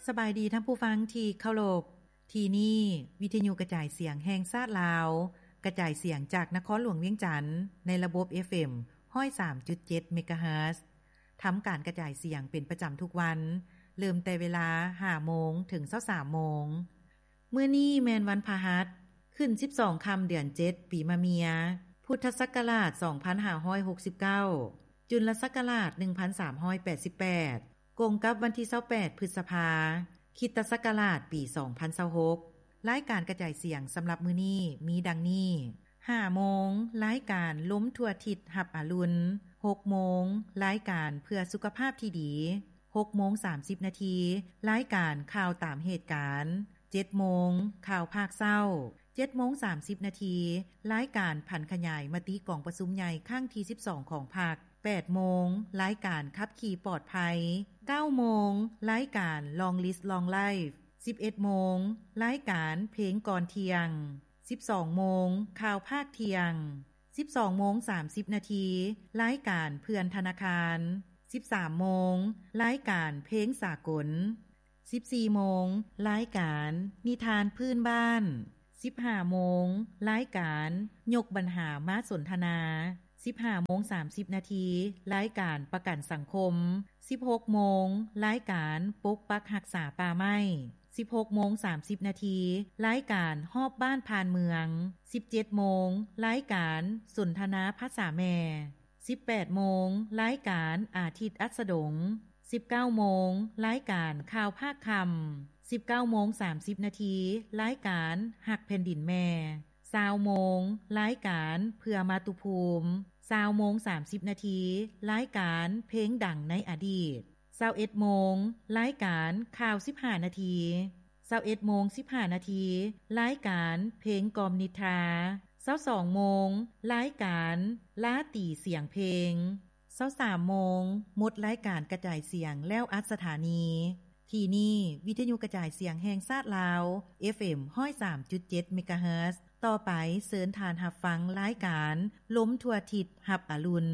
ສະບາຍດີທ່ານຜູ້ຟັງທີ່ເຄົາລົບ. ທີ່ນີ້ວິທະຍຸກະຈາຍສຽງແຫ່ງຊາດລາວ, ກະຈາຍສຽງຈາກນະຄອນຫຼວງວຽງຈັນ ໃນລະບົບ ເອັຟເອັມ ຮ້ອຍສາມຈຸດເຈັດ ເມກາເຮີດ. ທຳການກະຈາຍສຽງເປັນປະຈຳທຸກວັນ, ເລີ່ມແຕ່ເວລາ ຫ້າໂມງ ເຖິງ ຊາວສາມໂມງ. ມື້ນີ້ແມ່ນວັນພະຫັດ, ຂຶ້ນ ສິບສອງ ຄ່ຳ ເດືອນເຈັດ ປີມະເມຍ, ພຸດທະສັກກະລາດ ສອງພັນຫ້າຮ້ອຍຫົກສິບເກົ້າ, ຈຸນລະສັກກະລາດ ໜຶ່ງພັນສາມຮ້ອຍແປດສິບແປດ, ກົງກັບວັນທີ ຊາວແປດ ພຶດສະພາ, ຄຣິສຕະສັກກະລາດ ປີ ສອງພັນຊາວຫົກ. ລາຍການກະຈາຍສຽງສຳລັບມື້ນີ້ມີດັ່ງນີ້: ຫ້າໂມງ, ລາຍການລົມທົ່ວທິດຮັບອາລຸນ. ຫົກໂມງ, ລາຍການເພື່ອສຸຂະພາບທີ່ດີ. ຫົກໂມງ ສາມສິບນາທີ, ລາຍການຂ່າວຕາມເຫດການ. ເຈັດໂມງ, ຂ່າວພາກເຊົ້າ. ເຈັດໂມງ ສາມສິບນາທີ, ລາຍການຜັນຂະຫຍາຍມະຕິກອງປະຊຸມໃຫຍ່ຄັ້ງທີ ສິບສອງ ຂອງພັກ. ແປດໂມງ, ລາຍການຂັບຂີ່ປອດໄພ. ເກົ້າໂມງ, ລາຍການ Long Live Long Life. ສິບເອັດໂມງ, ລາຍການເພງກ່ອນທ່ຽງ. ສິບສອງໂມງ, ຂ່າວພາກທ່ຽງ. ສິບສອງໂມງ ສາມສິບນາທີ, ລາຍການເພື່ອນທະນາຄານ. ສິບສາມໂມງ, ລາຍການເພງສາກົນ. ສິບສີ່ໂມງ, ລາຍການນິທານພື້ນບ້ານ. ສິບຫ້າໂມງ, ລາຍການຍົກບັນຫາມາສົນທະນາ. ສິບຫ້າໂມງ ສາມສິບນາທີ, ລາຍການປະກັນສັງຄົມ. ສິບຫົກໂມງ, ລາຍການປົກປັກຮັກສາປ່າໄມ້. ສິບຫົກໂມງ ສາມສິບນາທີ, ລາຍການຮອບບ້ານຜ່ານເມືອງ. ສິບເຈັດໂມງ, ລາຍການສົນທະນາພາສາແມ່. ສິບແປດໂມງ, ລາຍການອາທິດອັດສະດົງ. ສິບເກົ້າໂມງ, ລາຍການຂ່າວພາກຄ່ຳ. ສິບເກົ້າໂມງ ສາມສິບນາທີ, ລາຍການຮັກແຜ່ນດິນແມ່. ຊາວໂມງ, ລາຍການເພື່ອມາຕຸພູມ. ຊາວໂມງ ສາມສິບນາທີ, ລາຍການເພງດັງໃນອະດີດ. ຊາວເອັດໂມງ, ລາຍການຂ່າວສິບຫ້ານາທີ. ຊາວເອັດໂມງ ສິບຫ້ານາທີ, ລາຍການເພງກ່ອມນິດທາ. ຊາວສອງໂມງ, ລາຍການລາຕີສຽງເພງ. ຊາວສາມໂມງ, ໝົດລາຍການກະຈາຍສຽງແລ້ວອັດສະຖານີ. ທີ່ນີ້ວິທະຍຸກະຈາຍສຽງແຫ່ງຊາດລາວ ເອັຟເອັມ ຮ້ອຍສາມຈຸດເຈັດ ເມກາເຮີດ. ຕໍ່ໄປເຊີນທ່ານຮັບຟັງລາຍການລົມທົ່ວທິດຮັບອາລຸນ.